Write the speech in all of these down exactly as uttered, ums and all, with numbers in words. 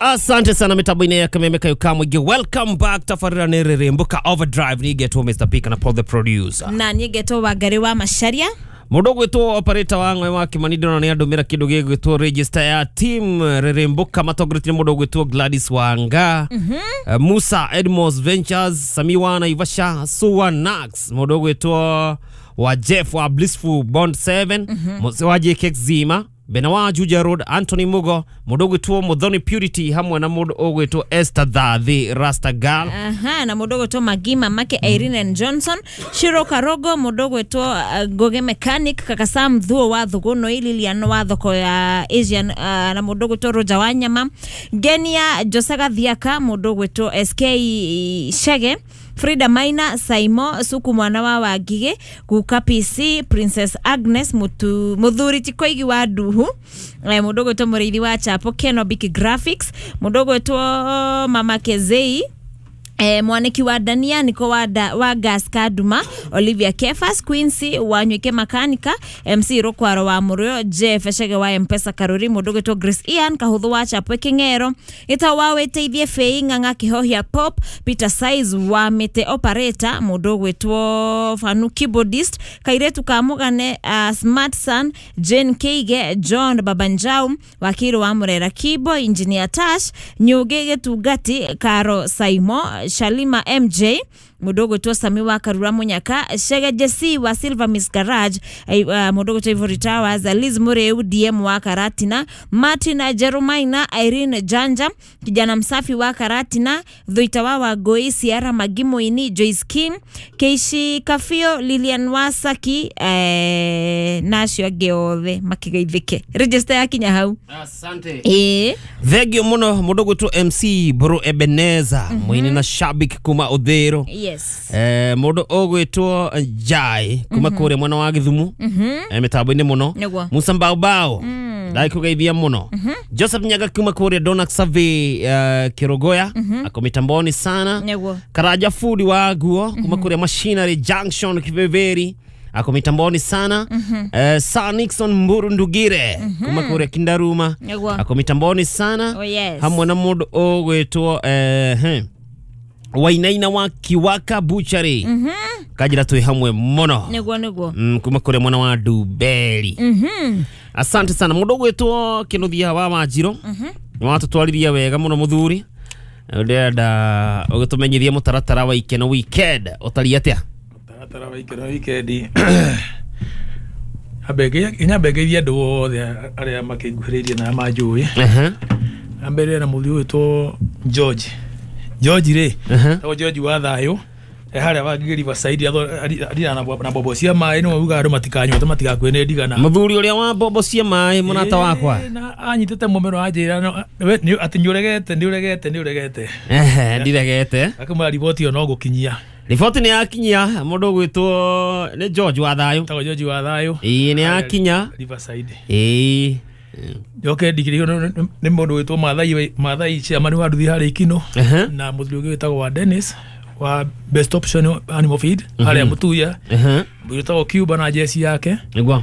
Asante sana mitambo-inĩ ya Kameme Kayo Kamwingĩ. Welcome back tabarĩra nĩ Rĩrĩmbũka Overdrive. Nigetwo Mister P kana Paul the producer. Na nigetwo Wangari wa Macharia. Mũndũ ũgwĩtwo operator wa ng'we wa Kimani ndĩrona nĩ andũmĩra kĩndũ gĩgwĩtwo register ya team Rĩrĩmbũka matongoretie mũndũ ũgwĩtwo Gladys Wanga, mm -hmm. uh, Musa Edmos Ventures, Sami wa Naivasha, Suwa Nax, mũndũ ũgwĩtwo wa Jeff wa Blissful Bond seven, mm -hmm. Mose wa J K Zima, Bena wa Juja Road, Anthony Mugo, mũndũ ũgwĩtwo Muthoni Purity hamwe na mũndũ ũgwĩtwo Esther Thathi Rasta Girl. Aha, na mũndũ ũgwĩtwo Magima Make Irene and Johnson, Shiro Karogo, mũndũ ũgwĩtwo uh, Goge Mechanic, Kaka Sam Thuo wa Thuguno, Lilian wa thoko ya Asian, uh, na mũndũ ũgwĩtwo Roger Wanyama, Genia Josaga Thiaka, mũndũ ũgwĩtwo S K Shege, Frida Maina, Saimo Suku mwana wa Wangige, Guka P C, Princess Agnes Mutu, Muthuri Tikoigi wa Nduhu, eh, mũndũ ũgwĩtwo Mũrĩithi wa Chapo, Kenobik Graphics, mũndũ ũgwĩtwo Mama Kezei, Eh, mwaniki wa Dania, Niko wa, da, wa Gas Kaduma, Olivia Kefas, Quincy wa Nywike Makanika, M C Rokwaro wa Murio, Jeff Eshege wa Mpesa Karuri, mũndũ ũgwĩtwo Grace Ian, Kahuthu wa Chapwe King'ero, Gĩtau wa Wĩteithie Fei, Ng'ang'a Kihohia Pop, Peter Size wa Mĩtĩ Operator, mũndũ ũgwĩtwo Fanu Keyboardist, Kairetu ka Mũgane, uh, Smart Son, Jane Keige, John Babanjau, Wakiri wa Murera Kibo, Engineer Tash, Nyuge Gĩtungati, Karo Saimo, Shalima M J, mũndũ ũgwĩtwo Sami wa Karura Munyaka, Shege Jesse wa Silver Miss Garage, uh, mũndũ ũgwĩtwo Ivory Towers, Liz Mureu D M wa Karatina, Martin Jerumaina, Irene Janja, kijana msafi wa Karatina, Thuita wa Wagoi, Sierra Magimoini, Joyce Kim, Keishi Kafio, Lilian Wasaki, eh, na acio angĩ othe makigeithĩke. Register yakinya hau. Asante. Eh. Thengio mũno mũndũ ũgwĩtwo M C Bro Ebeneza, mm -hmm. Mũini na shabiki kuma Uthero. Yes. Eh, mũndũ ũgwĩtwo Jai kuma mm -hmm. kũrĩa mwena wa Gĩthumu, mm -hmm. eh, mĩtambo-inĩ mũno. Musa Mbaubao, mm. ndaikũgeithia mũno. mm -hmm. Joseph Nyaga kuma kũrĩa Donak Survey, uh, Kirogoya, mm -hmm. ako mitamboni sana. Nĩguo. Karaja Food wa Guo kuma kũrĩa Machinery Junction Kiveveri, ako mitamboni sana. mm -hmm. Uh, Sir Nixon Mburu Ndugire, mm -hmm. kuma kũrĩa Kindaruma, ako mitamboni sana. Oh, yes. Hamwe na mũndũ ũgwĩtwo eh, hmm. Wainaina wa Kiwaka Butchery. Mm -hmm. Kajira tuwe hamwe mono. Nĩguo nĩguo. Mm, kuma kũrĩa mwana wa Dubeli. Mm -hmm. Asante sana. Mũndũ ũgwĩtwo Kĩnuthia wa Wanjirũ. Mm -hmm. Nĩwatũtwarithia wega mũno mũthuri. Ndĩrenda ũgĩtũmenyithie mũtaratara wa Ikeno Weekend ũtariĩ atĩa? Mũtaratara wa Ikeno Weekend. Nyambe ngeithie andũ othe arĩa makĩnguhĩrĩirie na manjũĩ. Uh-huh. Ambere na mũthuri ũgwĩtwo George. George rĩ, uh-huh. George wa thayũ, harĩa wa Riverside arira na bobo cia maĩ, nĩwe ugaga andũ matikanyue tondũ matigakue nĩ ndigana. Mũthuri ũrĩa wa bobo cia maĩ mũrata wakwa. Na anyitĩte mũmero anjĩra atĩ nĩũregete nĩũregete nĩũregete. Ehe, ndiregete. Akĩmwĩra riboti ĩyo no gũkinyia. Riboti nĩ yakinya, mũndũ ũgwĩtwo nĩ George wa thayũ. Tagwo George wa thayũ. Ĩĩ, nĩ yakinya. Riverside. Ĩĩ. Njoke ndigĩrĩrio nĩ mũndũ wĩtwo Mathai Mathai chairman wa nduthi harĩa Ikino, na mũthuri ũngĩ wĩtagwo wa Dennis wa Best Option Animal Feed harĩa Mutuya, wĩtagwo Cuba na jeci yake. Nĩguo.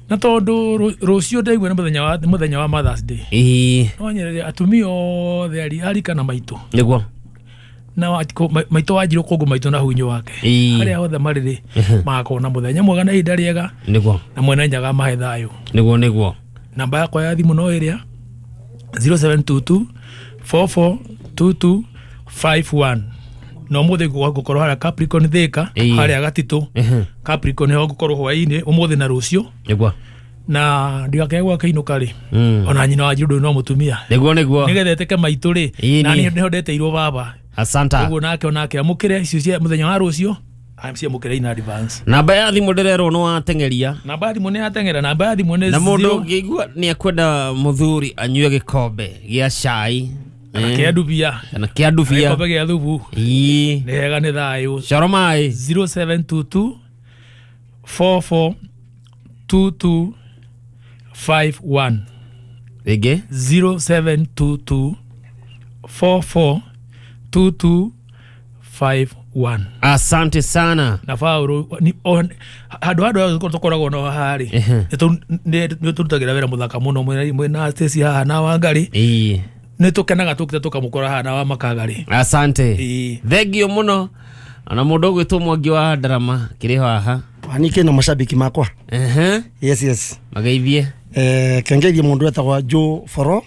Na tondũ rũciũ ndaigua nĩ mũthenya wa mũthenya wa Mother's Day. Ĩĩ. No nyerere atumia othe ari arika na maitũ. Nĩguo. Na maitũ Wanjirũ kũngũ maitũ na hunyũ wake. Harĩa othe marĩ rĩ magakorwo na mũthenya mwega na ihinda rĩega. Nĩguo. Na mwene nyaga mahe thayũ. Nĩguo nĩguo. Namba yakwa ya thimũ no ĩrĩa zero seven two two four four two two five one. Na ũmũthĩ ngũkorwo harĩa Capricorn Thika, harĩa Gatitũ. Capricorn nĩho ngũkorwo hwaĩ-inĩ ũmũthĩ na rũciũ. Nĩguo. Na ndigakĩage gwakĩinũka rĩ, ona nyina wa Wanjirũ no mũtumia. Nĩguo nĩguo. Nĩgetha etĩke maitũ rĩ, na niĩ nĩho ndeteirwo baba. Asanta. Ũguo nake onake amũkĩre icio cia mũthenya wa rũciũ. Amciamũkĩre in advance. Namba ya thimũ ndĩrerwo nĩ wateng'eria. Namba ya thimũ nĩ yateng'era, namba ya thimũ nĩ na mũndũ ũngĩigua nĩ akwenda mũthuri anyue gĩkombe gĩa cai kana kĩa ndubia, kana kĩa ndubia, gĩkombe gĩa thubu. Ĩĩ. Nĩ hega nĩ thayũ. Coro maĩ. zero seven two two four four two two five one. Rĩngĩ. zero seven two two four four two two five one. Asante sana. Na Paul ni handu handu tukoragwo no haha ri nĩ tũrutagĩra wĩra mũthaka mũno mwena Stacy haha na Wangari. Ĩĩ. Nä tå kenaga tå kite tå kamå kora haha na wa makagarä. Asante. Ĩĩ. Thengio muno. Ona mundu ũgwĩtwo Mwangi wa Ndarama kĩrĩ haha. Anike na mashabiki makwa. Ehe. Yes yes. Mageithie. Eh kengeithie mundu etagwa Joe Foro.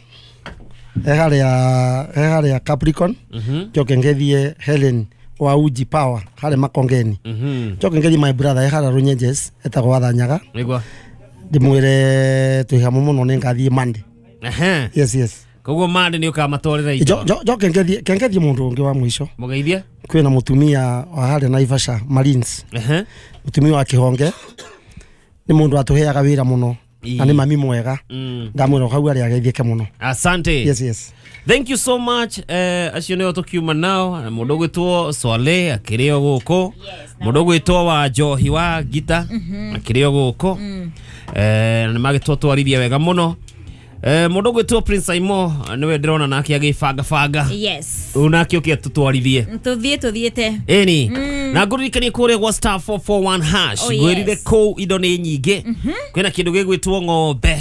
Eharia eharia Capricorn. Mhm. Njoke ngeithie Helen wa Uji Power hare Makongeni. Mhm. Njoke ngeithie my brother eharia Runyenjes etagwa Thanyaga. Nĩguo. Ndimwire twi hamwe muno ni ngathie Monday. Ehe. Yes yes. Koguo Monday nĩ ũkamatwarĩra indo. Njoke ngeithie kengeithie mundu ungi wa mwisho. Mũgeithie. Kwina mutumia wa haria Naivasha Marines. Ehe. Mutumia wa Kihonge. Ni mundu atuheaga wira muno. Na ni mami mwega. Ndamwira hau aria ageithieke muno. Asante. Yes yes. Thank you so much. Eh acio nĩo tũkiuma nao. Mũndũ ũgwĩtwo Swale akĩrĩ o gũkũ. Mũndũ ũgwĩtwo wa Njohi wa Gita akĩrĩ o gũkũ. Eh na nĩmagĩtwatwarithia wega mũno. Eh mũndũ ũgwĩtwo Prince Aimo nĩwe ndĩrona nake agĩbanga banga. Yes. Rĩu nake ũke atũtwarithie. Tũthiĩ tũthiĩte. Ĩni. Na ngũririkanie kũrĩa gwa star four four one hash. Ngwĩrire kũu indo nĩ nyingĩ. Kwĩna kĩndũ gĩgwĩtwo ng'ombe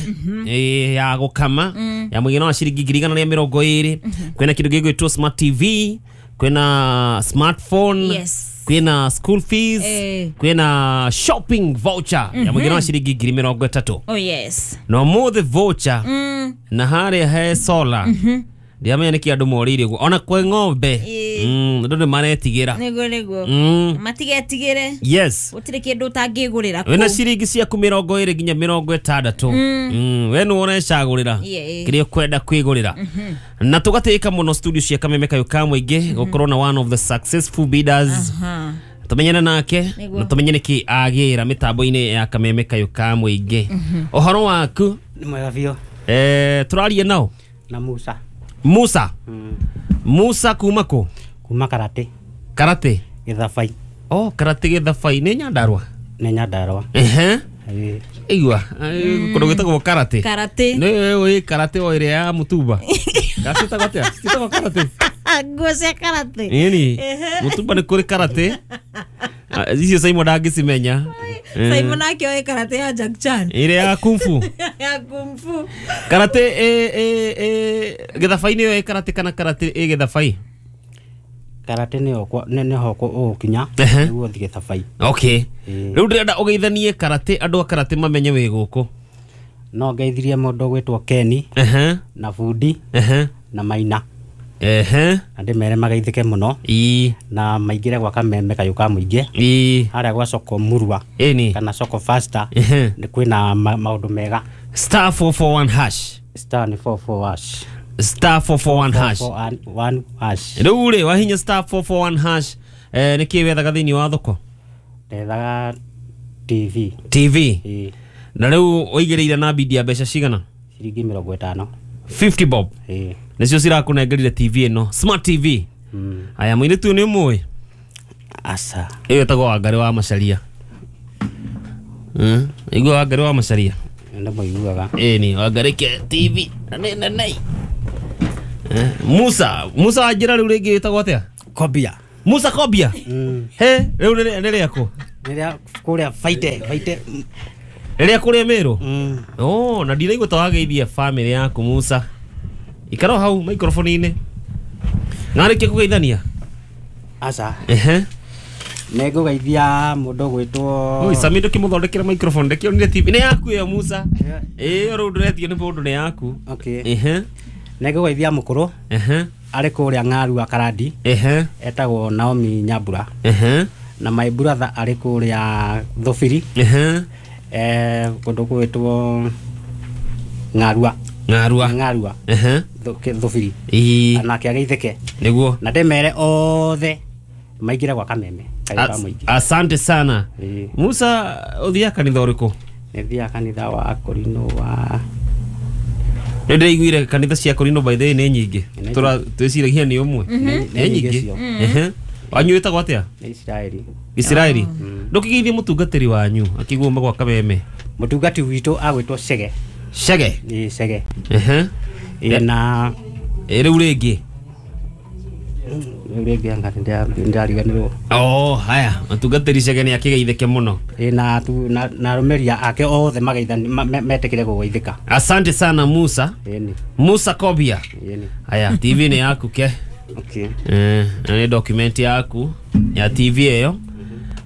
ya gũkama ya mũigana wa ciringi ngiri igana rĩa mĩrongo ĩrĩ. Kwĩna kĩndũ gĩgwĩtwo smart T V, kwĩna smartphone. Yes. Kwĩna school fees, eh. Kwĩna shopping voucher ya mũigana wa ciringi ngiri mĩrongo ĩtatũ. Oh yes. Na ũmũthĩ voucher mm. na harĩa he solar. Ndiamenya nĩkĩ andũ morĩire ũguo ona kwĩ ng'ombe andũ nĩ maretigĩra. Nĩguo nĩguo. Matigetigĩre. Yes. Gũtirĩ kĩndũ ũtangĩgũrĩra kũu. Wĩna ciringi ciaku mĩrongo ĩrĩ nginya mĩrongo ĩtandatũ. We nĩwe ũrecagũrĩra kĩrĩa ũkwenda kwĩgũrĩra. Na tũgatĩĩka mũno studio cia Kameme Kayũ ka Mũingĩ gũkorwo na one of the successful bidders. Tumenyane nake na tumenye nĩkĩ agĩra mĩtambo-inĩ ya Kameme Kayũ ka Mũingĩ. Ũhoro waku? Nĩ mwega biũ. Eh tũraria nao? Na Musa. Musa. Mm. Musa kuma kũ? Kuma Karate. Karate? Gĩthabai. Oh, Karate Gĩthabai nĩ Nyandarua? Nĩ Nyandarua. Ehe. Igua, kũndũ gwĩtagwo Karate. Karate. Nĩ ũĩ Karate o ĩrĩa ya mũtumba. Gacĩtagwo atĩa? Citagwo Karate. Nguo cia Karate. Ĩni. Mũtumba nĩ kũrĩ Karate. Icio Simon ndangĩcimenya. Simon nake oĩ Karate ya Jack Chan. Ĩrĩa ya kung fu. Ya kung fu. Karate ĩ ĩ ĩ gĩthabai-inĩ ĩyo ĩ Karate kana Karate ĩ gĩthabai? Karate nĩyo nĩho ũgũkinya nĩguo ũthiĩ gĩthabai. Okay. Rĩu ndĩrenda ũgeithanie Karate andũ a Karate mamenye wĩ gũkũ. No ngeithirie mũndũ ũgwĩtwo Kenny na Bundi na Maina. Ehe. Na ndĩmere mageithĩke mũno. Ĩĩ. Na maingĩre gwa Kameme Kayũ ka Mũingĩ. Ĩĩ. Harĩa gwa soko Murwa. Ĩni. Kana soko Faster. Nĩ kwĩna maũndũ mega. Star four four one hash. Star ni four four hash. Star four four one hash. four four one hash. Rĩu rĩ wahinya star four four one hash eh nĩkĩ wethaga thĩinĩ wa thoko? Ndethaga T V. T V. Ĩĩ. Na rĩu ũigĩrĩire na bidi ya mbeca cigana? Ciringi mĩrongo ĩtano. fifty bob. Ĩĩ. Nĩcio cirakũnengerire T V ĩno smart T V. Mm. Aya mũirĩtu nĩ ũmũĩ? Aca. Ĩyo ĩtagwo Wangarĩ wa Macharia. Mm. Igua Wangarĩ wa Macharia. Nĩ mũiguaga. Ĩni Wangarĩ ke T V nene nene. Eh, Musa, Musa anjĩra rĩu rĩngĩ ĩtagwo atĩa? Kobia. Musa Kobia. Mm. He, rĩu nĩ rĩakũ? Nĩ rĩa kũrĩa Faite, Faite. Rĩrĩa kũrĩa Meru? Mm. Oh, na ndiraigua ta wageithia family yaku Musa. Ikara hau microphone-inĩ. Narĩkia kũgeithania? Aca. Ehe. Nĩ ngũgeithia mũndũ ũgwĩtwo Oi, Sami ndũkĩmũthondekera microphone ndĩkĩonire T V. Nĩ yaku ĩyo Musa. Ĩyo rĩu ndĩretio nĩ mũndũ nĩ yaku. Okay. Ehe. Nĩ ngũgeithia mũkũrũ. Ehe. Arĩ kũrĩa Ng'arua Karandi. Ehe. Etagwo Naomi Nyambura. Ehe. Na my brother arĩ kũrĩa Thũbiri. Ehe. Eh kũndũ gwĩtwo Ng'arua. Ng'arua. Ng'arua. Ehe. Thũbiri. Ĩĩ. Nake ageithĩke. Nĩguo. Na ndĩmere othe maingĩre gwa Kameme Kayũ ka Mũingĩ. Asante sana. Ĩĩ. Musa ũthiaga kanitha ũrĩkũ? Nĩ thiaga kanitha wa Korino wa Nĩ ndĩraiguire kanitha cia Korino by the way nĩ nyingĩ. Tũra twĩciragia nĩ ũmwe. Nĩ nyingĩ. Ehe. Wanyu wĩtagwo atĩa? Nĩ Isiraeli. Isiraeli. Ndũkĩgeithie mũtungatĩri wanyu akĩguo gwa Kameme. Mũtungati witũ agwĩtwo Chege. Chege? Ĩĩ Chege. Ehe. Ĩĩ na rĩu rĩngĩ. Rĩngĩ anga ndĩrariganĩrwo. Oh, haya mũtungatĩri Chege nĩ akĩgeithĩke mũno. Ĩ na na na arũmĩrĩri ake othe mageithani metĩkĩre gũgeithĩka. Asante sana Musa. Ĩni. Musa Kobia. Ĩni. Haya T V nĩ yaku ke. Okay. Eh, na nĩ document yaku ya T V ĩyo.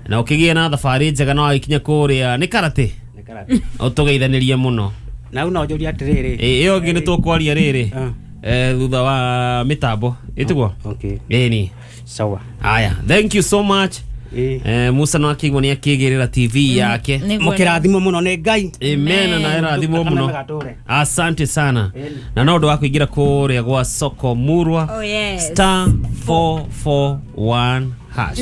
Na ũkĩgĩe na thabarĩ njega na wagĩkinya kũrĩa nĩ karate. Nĩ karate. Ũtũgeithanĩrie mũno. Na una ũnjũrie atĩrĩrĩ. Ĩ ĩyo ĩngĩ nĩ tũkwaria rĩrĩ. Eh, thutha wa mitambo ĩtiguo. Okay. Ĩni. Sawa. Haya, thank you so much. Eh, Musa no akĩigua nĩ akĩgĩrĩra T V yake. Mũkĩrathimwo mũno nĩ Ngai. Amen, na ĩrathimwo mũno. Asante sana. Na no ũndũ wa kũingĩra kũrĩa gwa Soko Murwa. Oh, yes. Star four four one hash.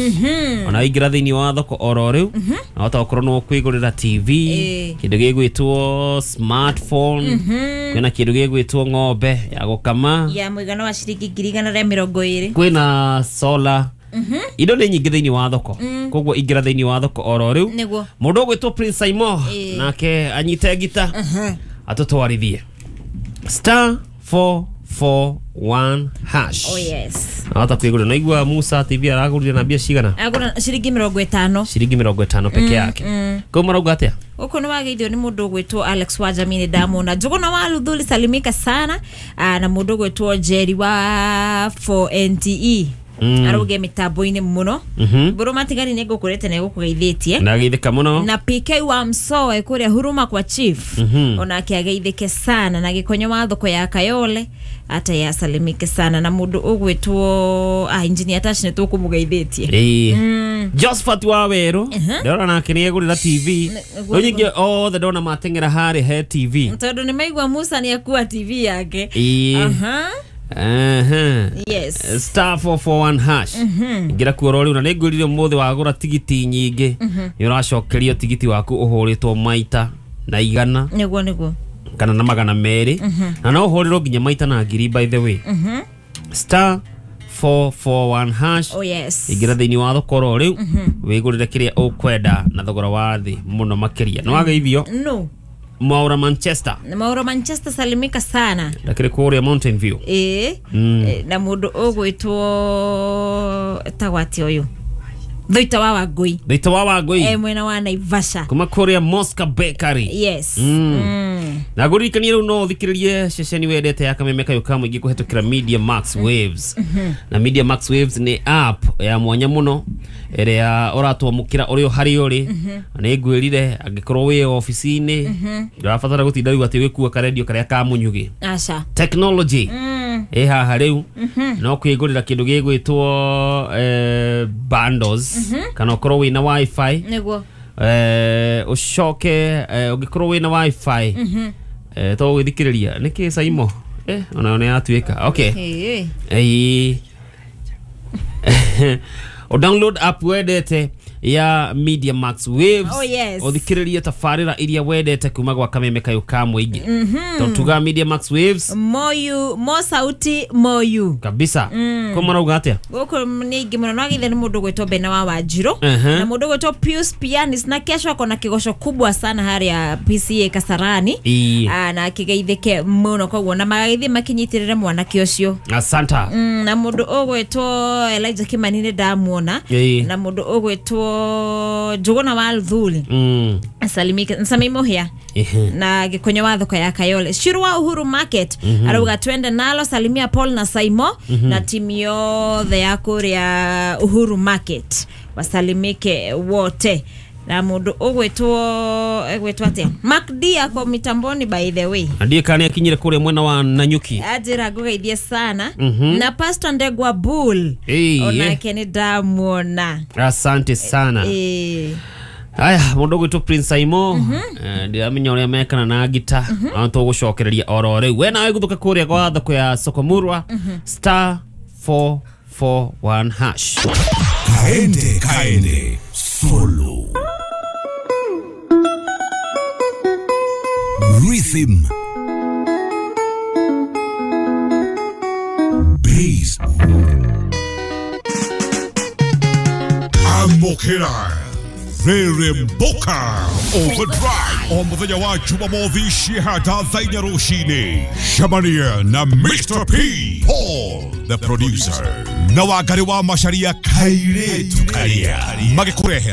Ona ingĩra thĩinĩ wa thoko oro rĩu na wahota gũkorwo no kwĩgũrĩra T V, kĩndũ gĩgwĩtwo smartphone, kwĩna kĩndũ gĩgwĩtwo ng'ombe ya gũkama ya mũigana wa ciringi ngiri igana rĩa mĩrongo ĩrĩ, kwĩna solar. Indo nĩ nyingĩ thĩinĩ wa thoko. Koguo ingĩra thĩinĩ wa thoko oro rĩu. Mũndũ ũgwĩtwo Prince Saimo nake anyite ngita atũtwarithie star four four one hash. Oh yes. Hata kwigura na igua Musa T V aragurire na mbia cigana? Agura ciringi mĩrongo ĩtano. Ciringi mĩrongo ĩtano peke yake. Kau marauga atia? Gũkũ nĩ wageithio nĩ mũndũ ũgwĩtwo Alex wa Jamini ndamona. Njũgũna wa Luthuli salimika sana na mũndũ ũgwĩtwo Jerry wa four N T E. Mm. Aruge mitambo-inĩ mũno. Mbũrũ matigari nĩ ngũkũrĩte na gũkũgeithĩtie. Na geithĩka mũno. Na P K wa Msoe kũrĩa Huruma kwa Chief. Mm -hmm. Onake ageithĩke sana na gĩkonyo wa thoko ya Kayole ata yasalimike sana na mũndũ ũgwĩtwo ah engineer Tash nĩ tũkũmũgeithĩtie. Eh. Mm. Josephat wa Weru ndĩrona nake nĩ egũrĩra T V. Rĩu nyingĩ othe ndona mateng'era harĩ he T V. Tondũ nĩ maigua Musa nĩ akua T V yake. Aha. Uh-huh. Yes. Star four four one hash. Ngira kuo rĩu na nĩ ngwĩrire ũmũthĩ wagũra tigiti nyingĩ nĩ ũracokerio tigiti waku ũhũrĩtwo maita na igana. Nĩguo nĩguo. Kana na magana merĩ. Na no ũhũrĩrwo nginya maita na ngiri by the way. Star four four one hash. Oh yes. Ingira thĩinĩ wa thoko ro rĩu wĩgũrĩre kĩrĩa ũkwenda na thogora wa thĩ mũno makĩria. Nĩ wageithio? No. Maura Manchester. Maura Manchester salimika sana. Lakini kũrĩa Mountain View. Eh. Mm. Na mũndũ ũgwĩtwo tagwati ũyũ. Thuita wa Wangui. Thuita wa Wangui. Eh, mwena wa Naivasha. Kuma kũrĩa Mosca Bakery. Yes. Mm. Mm. Na ngũririkanie rĩu no ũthikĩrĩrie ceceni wendete ya Kameme Kayũ ka Mũingĩ kũhetũkĩra Media Max Waves. Mm -hmm. Na Media Max Waves nĩ app ya mwanya mũno ĩrĩa ũratwamũkĩra ũrĩ o harĩa ũrĩ. Nĩ ngwĩrire angĩkorwo wĩ ofici-inĩ ndũrabatara gũtinda rĩu atĩ ũgĩkua karendio karĩa ka mũnyugĩ. Aca. Technology. Mm. Ĩ haha rĩu no kwĩgũrĩra kĩndũ gĩgwĩtwo eh, bundles mm -hmm. kana ũkorwo wĩna wifi. Nĩguo. Eh, ũcoke ũngĩkorwo wĩna wifi mm -hmm. eh, to gwĩthikĩrĩria nĩkĩ Saimo eh, onayo nĩ yatuĩka. Okay. Hey. Eh. O download app wendete ya Media Max Waves. Oh yes. Ũthikĩrĩrie tabarĩra iria wendete kuma gwa Kameme Kayũ ka Mũingĩ. Tondũ tuga Media Max Waves moyu mo sauti moyu kabisa. Mm. Ko marauga atia? Gũkũ nĩ ingĩ mũno no githe nĩ mũndũ gwĩtwo Bena wa Wanjirũ. Uh -huh. Na mũndũ gwĩtwo Pius Pianis na kesho akona kĩgoco kubwa sana harĩa P C A Kasarani. Ah, na akĩgeithĩke mũno koguo na magagĩthiĩ makinyitĩrĩre mwanake ũcio. Asanta. Mm, na mũndũ ũgwĩtwo Elijah Kimani nĩ ndamuona. Na mũndũ ũgwĩtwo Njũgũna wa Luthuli. Mm. Salimike Nsami Muhia. Na gĩkonyo wa thoko ya Kayole. Shiru wa Uhuru Market. Mm -hmm. Arauga twende nalo salimia Paul na Saimo. Mm -hmm. Na timu yothe ya kũrĩa Uhuru Market. Wasalimike wote. Na mũndũ ũgwĩtwo egwĩtwo atĩa? Mark D ako mitamboni by the way. Ndiye kani akinyire kũrĩa mwena wa Nanyuki. Ajira ngũgeithie sana. Mm -hmm. Na Pastor Ndegwa Bull. Hey, onake nĩ ndamuona. Asante sana. Eh. Aya, mũndũ ũgwĩtwo Prince Saimo. Mm -hmm. Ndiramenya ũrĩa mekana na ngita. Mm -hmm. Na tũgũcokereria oro rĩu. We nawe gũthũka kũrĩa gwa thoko ya Soko Murwa. Mm -hmm. Star four four one hash. Kaende kaende solo. Rhythm. Bass. Amokera. Reremboka Overdrive o muthenya wa Jumamothi cihata thaa inya rũcinĩ. Cemania na Mister P Paul the producer. Na Wangari wa Macharia Kairetu Karia magĩkũrehera.